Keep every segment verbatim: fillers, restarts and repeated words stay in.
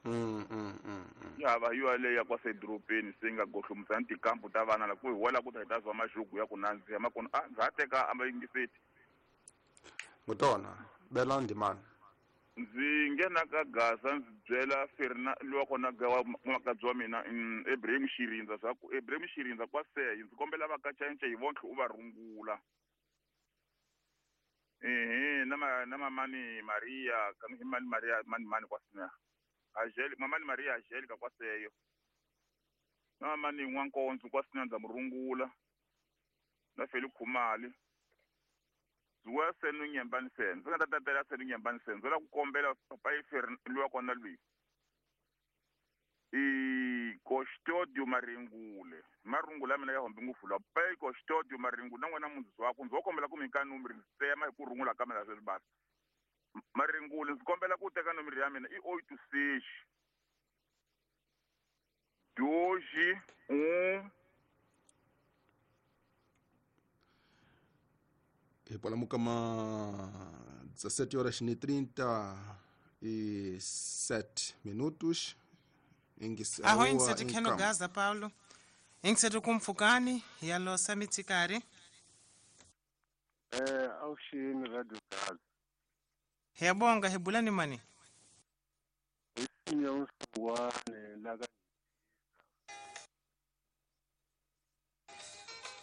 Mm mm mm. Ya va yo leya kwa sedropeni se nga gohlomusa tikampu ta vana la ku hi wela ku ta hi ta zwa maxugu ya ku nandziha makona a ndza ha teka a yingiseti. Ngutona bela ndimana. Ndzi nghena ka Gaza ndzi byela Ferna lowa kona ga wa makadzi wa mina Ibrahim Xirindza swa ku Ibrahim Xirindza kwa seyi ndzi kombela va ka cence hi vontlhe u va rungula. Ehe na ma na mamani Maria ka mani Maria mani mani kwa sina. Angel mamani Maria Angelica kwa seyo. Na mamani N'wankonzo kwa sina ndza murungula. Na Feli Khumali. Zuwa senu nyembani sen. Ndzi nga ta tatela senu nyembani sen. Ndzi la ku kombela papa Ferna lowa kona lwi. I Kostodio Maringule. Marungula mina ya hombe ngopfu la. Papa Kostodio Maringule na n'wana mundzisi wa ku ndzi wo kombela ku mi nyika nomoro ndzi tsema hi ku rungula ka mina sweswi basi. Maringule ndzi kombela ku teka nomoro ya mina i oito seis dois um Hi palamuka ma dezessete horas e trinta e sete minutos. Aho ingiseti kheno Gaza Paulo. Ingiseti kumfukani ya losa mitsikari. Eh awushini Radio Gaza. Hiyabonga hibulani mani. Isinya usuwane la ka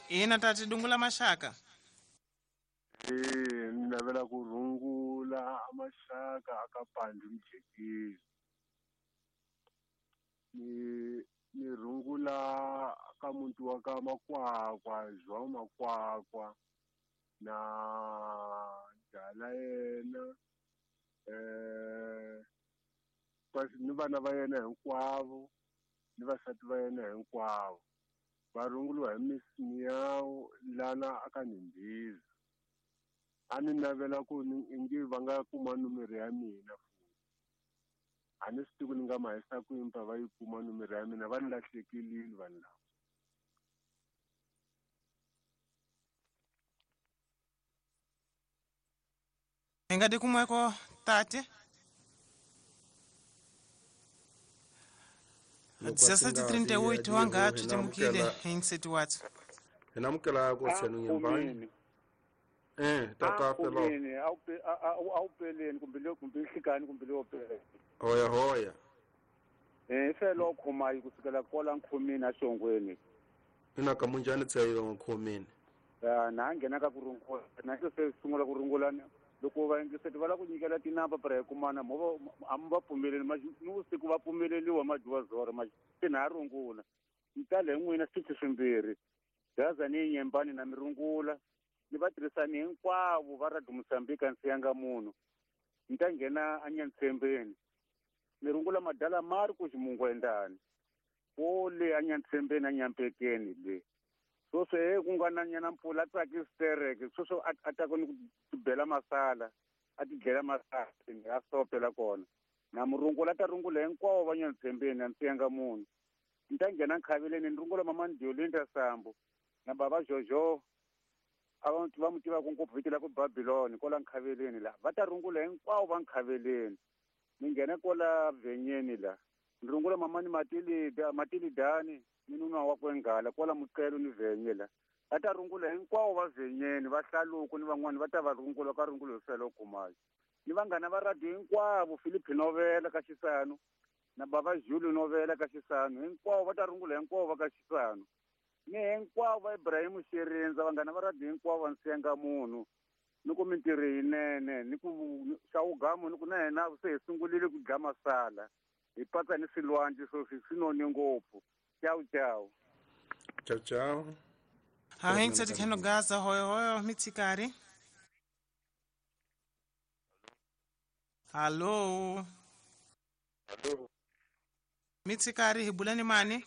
Ina tati dungula mashaka. Eh navela ku rungula amashaka akapandi mjekezi. Ni ni rungula ka muntu wa ka makwakwa João Makwakwa na dala yena eh kasi ni vana va yena hinkwavo ni vasati va yena hinkwavo va runguliwa hi Miss Miao lana aka Nimbiza. A ni navela ku ingi va nga kuma nomoro ya mina futhi a ni swi tivi ku ni nga ma hisa kwini pa va yi kuma nomoro ya mina va ni lahlekelile vanhu lava. Hi nga tikumeko tate dezessete e trinta e oito wanga tutemukile ingiseti wathu. Hi namukela ku senu nyembani. Eh tata pelo. Awupeleni kumbe le kumbe hlikani kumbe le opele. Hoya hoya. Eh felo khomayi kusukela kola nkhomini axongweni. Ina ka munjani tsayo nkhomini. Ah na nghena ka kurungula na se sungula kurungula loko va yingiseti va la ku nyikela tinamba para hi kumana mo a mi va pfumeleli ni vusiku va pfumeleliwa majuva zoro ma se na rungula. Ni tale n'wina switichi swimbirhi. Gaza ni nyembani na mirungula. Ni va tirhisani hinkwavo va Radio Mozambique a siyanga munhu. Ni ta nghena anyantsembeni. Ni rungula madala Marcos Mungwendani. Wo le anyantsembeni anyampekeni le. Sweswo he ku nga na nyana mpfula a tsakisi tereke sweswo a ta ku ni ku bela masala a ti dlela masala a sopela kona. Na murungula ta rungula hinkwavo va nyantsembeni a siyanga munhu. Ni ta nghena nkhaveleni ni rungula mama Ndiolinda Sambo na baba Jojo abantu va mutiva ku ngopfu vito la ku Babylon kola nkhaveleni la va ta rungula hinkwavo va nkhaveleni. Ni nghena kola vhenyeni la ni rungula mamani Matilida Matilidani ni nuna wa kwengala kola muqelo ni vhenye la va ta rungula hinkwavo va vhenyeni va hlaluko ni van'wani va ta va rungula ka rungulo felo kumayo. Ni vanghana va radio hinkwavo Philip Novela ka Xisano na baba Jules Novela ka Xisano hinkwavo va ta rungula hinkwavo va ka Xisano. Ni hinkwavo va Ibrahim Xirindza vanghana va radio hinkwavo va nsenga munhu ni ku mintirho yinene ni ku xawugamu ni ku na hina se hi sungulile ku dya masala hi patsa ni swilwandle sweswi swi none ngopfu. Ciao ciao. Ciao ciao. Ha ingiseti kheno Gaza hoyo hoyo mitsikari. Hallo. Hallo. Mitsikari hi bulani mani?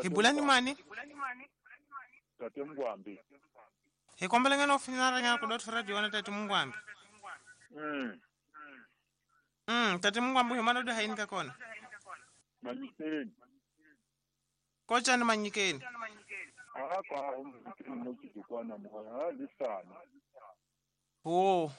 Hi bulani mani? Tate Mngwambi. Hi kombela ngeno finara ngana ku dot radio na Tate Mngwambi. Mm. Mm, Tate Mngwambi hi mana do haini ka kona. Manyikeni. Kochani manyikeni. A kwa umkini no kidikwana mo ha lisana. Oh.